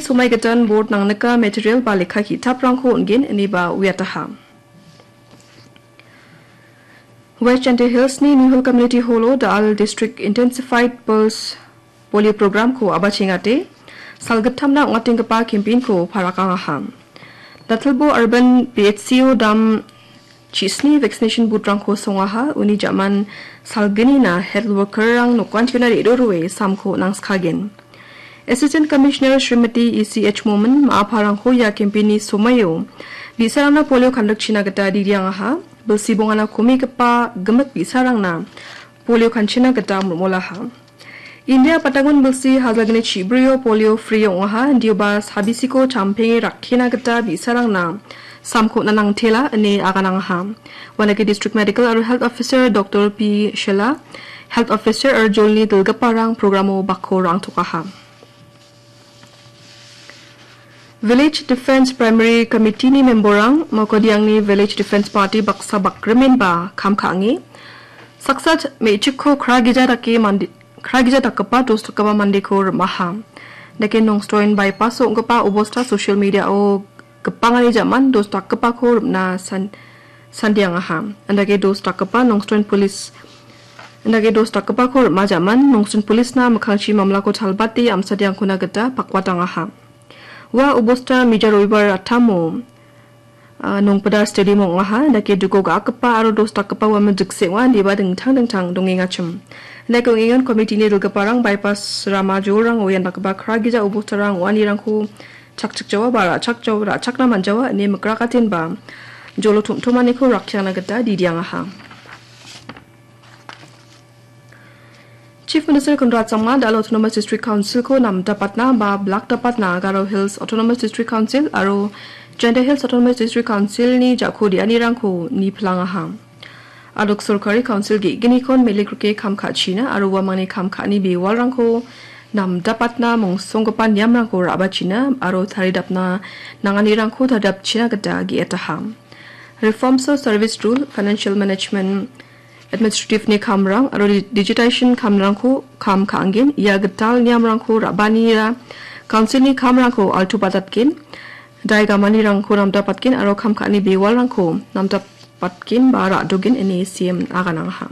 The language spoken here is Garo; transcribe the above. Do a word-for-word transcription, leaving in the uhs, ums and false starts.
Somai gitan board nangnika material ba lekka ki·taprangko on·gen ineba uiataha. West Jaintia Hills-ni New Hill Community Hall-o Dal District Intensified Pulse Polio Program-ko a·bachengate, salgittamna ong·atenggipa campaign-ko parakangaha. Datilbo Urban P H C-o dam chisni vaccination booth-rangko songaha, uni jaman salgnina health worker-rang nokantona re·rurue samko nangskagen. Assistant Commissioner Srimati E C H Momin ma·aparangko ia campaign-ni somaio bi·sarangna polio kandikchina gita diriangaha. Bilsi bongana komigipa gimik bi·sarangna polio kanchina gita mol·molaha. India patangon bilsi hajalgni chibrio polio free ong·aha, indioba sabisiko champenge rakkina gita bi·sarangna samko nanangtela ine aganangaha. Uanake District Medical aro Health Officer Doctor P Shila, Health Officer aro jolni dilgiparang programo bakko rangtokaha. Village Defence Primary Committee-ni member-rang Maokadiangni Village Defence Party baksa bakrimenba kam ka·ange. Saksa me·chikko kragija dake mande, kragija dakgipa dos dakgipa mandeko rim·aha. Dake Nongstoin bypass-o ong·gipa obosta social media-o gipangani jaman dos dakgipako rim·na san-, sandiangaha. Andake dos dakgipa Nongstoin Police, andake dos dakgipako rim·a jaman Nongstoin Police-na mikkangchi mamlako chalbate amsadiangkona gita pakwatangaha. Ua obosta mija roibar attamo, ah, Nongpida Stadium ong·aha. Andake duko ga·akgipa aro dos dakgipa uamang jikse ong·a, indiba dingtang dingtang dongengachim. Andake ong·engan committee-ni dilgiparang bypass rama jolrango ian dakgipa kragija obostarang ong·anirangko chakchikjawa ba ra·chakjawa, ra·chakna man·jawa ine mikrakatenba jolo tom·tomaniko rakkiangna gita didiangaha. Chief Minister Conrad Sangma da·al Autonomous District Council-ko namdapatna ba blakdapatna Garo Hills Autonomous District Council aro Jaintia Hills Autonomous District Council-ni jako de·anirangko nipilangaha. Adok sorkari council ge·gnikon melikrike kam ka·china aro uamangni kam ka·ani bewalrangko namdapatna mongsonggipa niamrangko ra·bachina aro taridapna nanganirangko taridapchina gita ge·etaha. Reforms of Service Rule, Financial Management, Administrative-ni kamrang aro di-, digitization kamrangko kam ka·angen. Ia gital niamrangko ra·banira council-ni kamrangko altubatatgen, daigamanirangko namdapatgen aro kam ka·ani bewalrangko namdapatgen ba ra·dogen ine C M aganangaha.